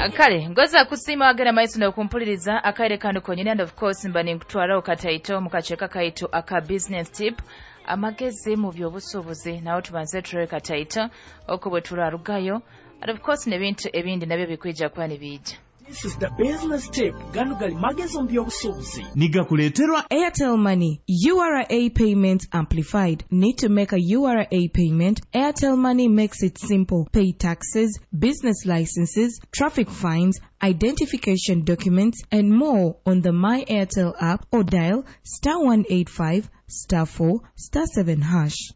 Kale ngoza kusiima wagenda maiso n'okumpuliriza akaire kano konyini. And of course mba ninkutwaraho kataito mu kaceeka kaitu aka business tip, amagezi mu by'obusuubuzi. Nawe tubanze turebe kataito oko bwe turarugayo, and of course n'ebintu ebindi nabyo bikwija kuba nibiija. This is the business tip. Gano gali magezi mu by'obusuubuzi. Nigakuleeterwa Airtel Money, URA Payment Amplified. Need to make a URA payment? Airtel Money makes it simple. Pay taxes, business licenses, traffic fines, identification documents, and more on the My Airtel app or dial *185 *4 *7#.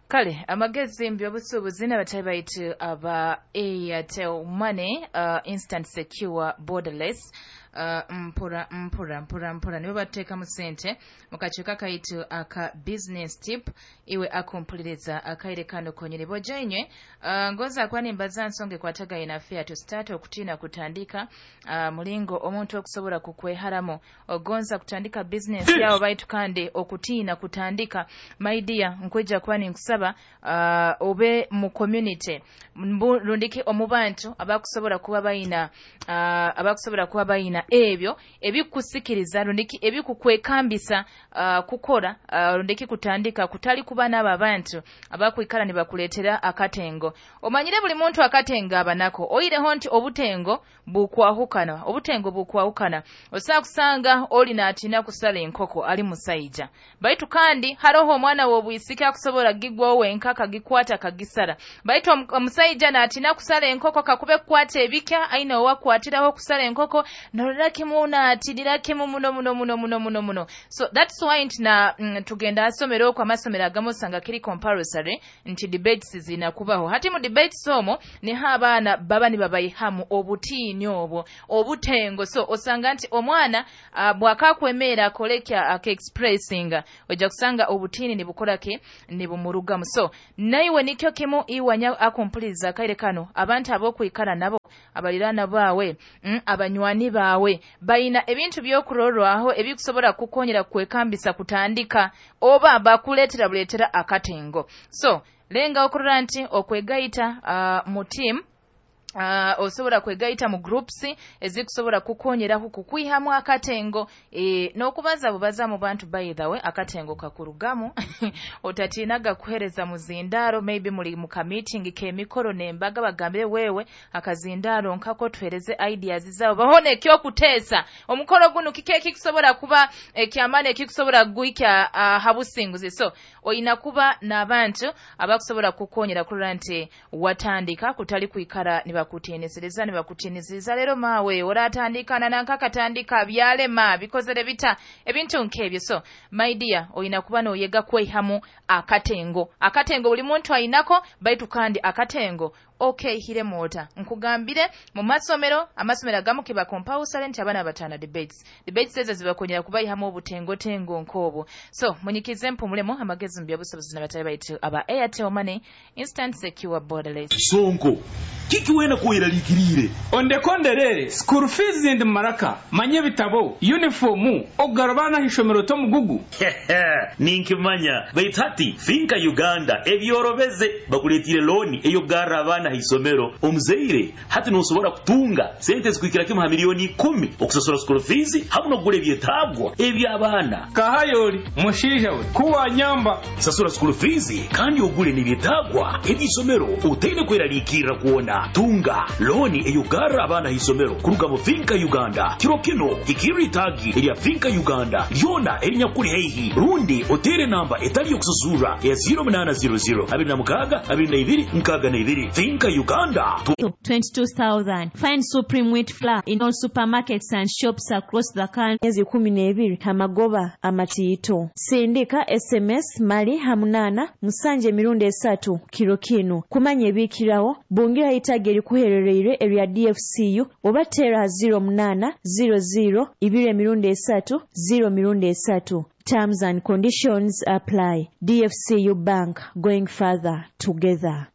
Kale amagezi mu by'obusuubuzi n'abatayi baitu aba Airtel Money, instant, secure, borderless, mpora mpora mpora mpora nibo batuteekamu sente mu kacuuka kaitu aka business tip. Iwe akumpuliriza akaire kano konyini boja inywe, ngoza kuba nimbaza nsonga ekwatagaine na fear to start, okutiina kutandika, mulingo omuntu okusobola kukweharamu. Ogonza kutandika business yawe baitu kandi okutiina kutandika. My dear, nkwija kuba ninkusaba obe mu community rundiki omu bantu abakusobola kuba bayina ebyo ebikusikiriza rundiki ebikukwekambisa kukora rundiki kutandika, kutali kuba n'abo abantu abakwikara nibakuleetera akatengo. Omanyire buli muntu akatengo abanako, oireho nti obutengo bukwahukana, obutengo bukwahukana. Osobola kusanga oli naatina kusala enkoko ali musaija, baitu kandi haroho omwana w'obwisiki akusobola gigwawo wenka akagikwata akagisara, baitu omusaija naatina kusala enkoko kakube kukwata ebikya aine owakwatiraho kusala enkoko norora kimu naatinira kimu muno muno muno muno muno muno. So that's why nti na tugenda asomero okwo, amasomero agamu osanga kiri compulsory nti debates zina kubaho. Hati mu debates omwo niho abaana baba nibabayihamu obutiini obwo obutengo. So osanga nti omwana bwakakwemeera akole aka expressinga, ojja kusanga obutiini nibukora ki, nibumurugamu. So naiwe nikyo kimu, iwanya akumpuliriza akaire kano, abantu ab'okwikara nabo, abaliraana baawe, abanywani baawe bayina ebintu by'okurorwaho ebikusobola kukonyera kwekambisa kutandika, oba bakuleetera buleetera akatengo. So lenga okurora nti okwegaita mu team, osobola kwegaita mu groups ezikusobola kukonyeraho kukwihamu akatengo, n'okubaza bubaza mu bantu. By the way, akatengo kakurugamu. Otatiinaga kuhereza muzindaaro. Maybe muli mu ka meeting k'emikoro n'embaga, bagambire wewe akazindaaro nkako tuhereze ideas zaabo, bahone ekyokuteesa omukoro guno kiki ekikusobola kuba ekyamaani ekikusobola kugwikya ha businguzi. So oyina kuba n'abantu abakusobola kukonyera kurora nti watandika, kutali kwikara nibakutiinisiriza nibakutiinisiriza, leero maawe oratandika nankakatandika byalema bikozere bita, ebintu nk'ebyo. So my dear, oyina kuba noyega kwehamu akatengo. Akatengo buli muntu ayinako, baitu kandi akatengo okehiremu ota? Nkugambire mu masomero, amasomero agamu kiba compulsory nti abaana bataana debates. Debates ezo zibakonyera kubayihamu obutengotengo nk'obwo. So munyikize mpumulemu amagezi mu byabusobozi n'abatali baitu aba Airtel Money, instant, secure, borderless. Sonko kiki wena kweraliikiriire? Ondekonderere school fees ndi maraka manye ebitabo, uniform, okugara abaana ah'ishomero tomugugu. Ninkimanya, baitu hati FINCA Uganda ebyorobeze, bakuleetire looni ey'okugarra abaana haisomero. Omuzaire hati nosobora kutunga sente zikuhikira kimu ha miliyoni 10 okusasura school fees hamu n'okugura ebyetaagwa eby'abaana. Kahayoli mushaija we kuwanyamba. Sasura school fees kandi ogule n'ebyetaagwa eby'isomero otaine kweraliikirra kwona. Tunga looni ey'okugarra abaana haisomero kuruga mu FINCA Uganda. Kiro kino hikirra itaagi erya FINCA Uganda lyona erinyakuli haihi, rundi oteere namba etali y'okusasurra eya 0800 26 22 62. FINCA Uganda. 22,000. Find Supreme Wheat Flour in all supermarkets and shops across the country. Myezi 12 amagoba amatiito. Sindika SMS mali ha 87 3 kiro kinu kumanya ebiikirawo. Bungira itaagi erikuherereire erya DFCU oba teera 08 00 2 3 0 3. Terms and conditions apply. DFCU Bank, going further together.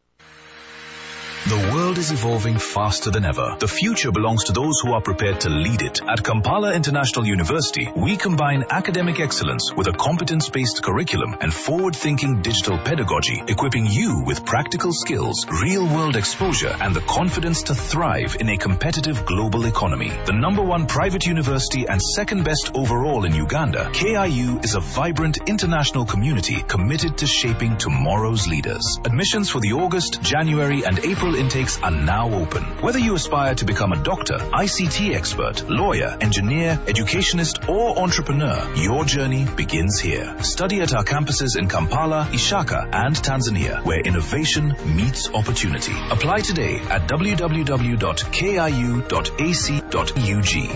The world is evolving faster than ever. The future belongs to those who are prepared to lead it. At Kampala International University, we combine academic excellence with a competence-based curriculum and forward-thinking digital pedagogy, equipping you with practical skills, real-world exposure, and the confidence to thrive in a competitive global economy. The number one private university and second best overall in Uganda, KIU is a vibrant international community committed to shaping tomorrow's leaders. Admissions for the August, January, and April intakes are now open. Whether you aspire to become a doctor, ICT expert, lawyer, engineer, educationist, or entrepreneur, your journey begins here. Study at our campuses in Kampala, Ishaka, and Tanzania, where innovation meets opportunity. Apply today at www.kiu.ac.ug.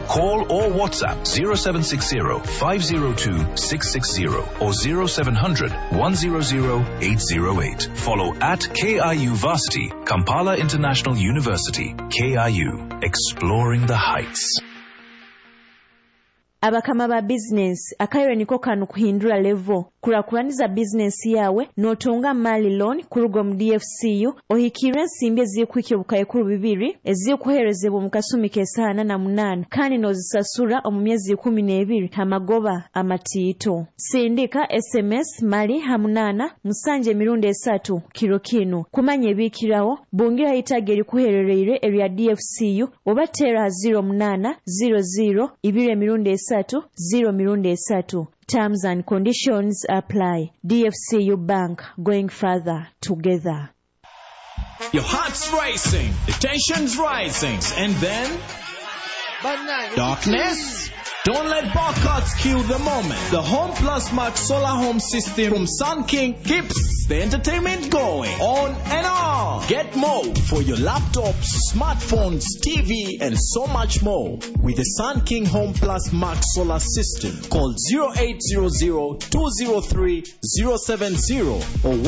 Call or WhatsApp 0760 502 660 or 0700 100 808. Follow at KIU Varsity, Kampala International University, KIU, exploring the heights. Abakama ba bizinensi, akaire niko kanu kuhindura levo kurakuraniza bizinensi yawe notunga mali loan kuruga omu DFCU ohikire ensimbi ezikuhika 2,000 ezikuherezebwa omu kasumi k'esaaha 48 kandi nozisasura omu myezi 12 amagoba amatiito. Sindika SMS mali ha 87 emirundi 3 kiro kinu kumanya ebikirawo bungira itaga erikuherereire erya DFCU oba tera 08 00 2 emirundi 3 0 mirundi 3. Terms and conditions apply. DFCU Bank, going further together. Your heart's racing, the tension's rising, and then darkness. Don't let barcodes kill the moment. The Home Plus Max Solar Home System from Sun King keeps the entertainment going on and on. Get more for your laptops, smartphones, TV, and so much more with the Sun King Home Plus Max Solar System. Call 0800 203 070 or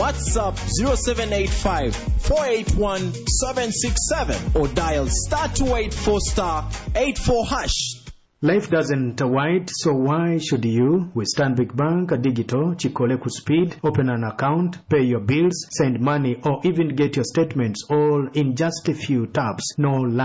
WhatsApp 0785 481 767 or dial star 284 star 84 hash. Life doesn't wait, so why should you? With Stanbic Bank Digital, Chikole Speed, open an account, pay your bills, send money, or even get your statements all in just a few taps. No line.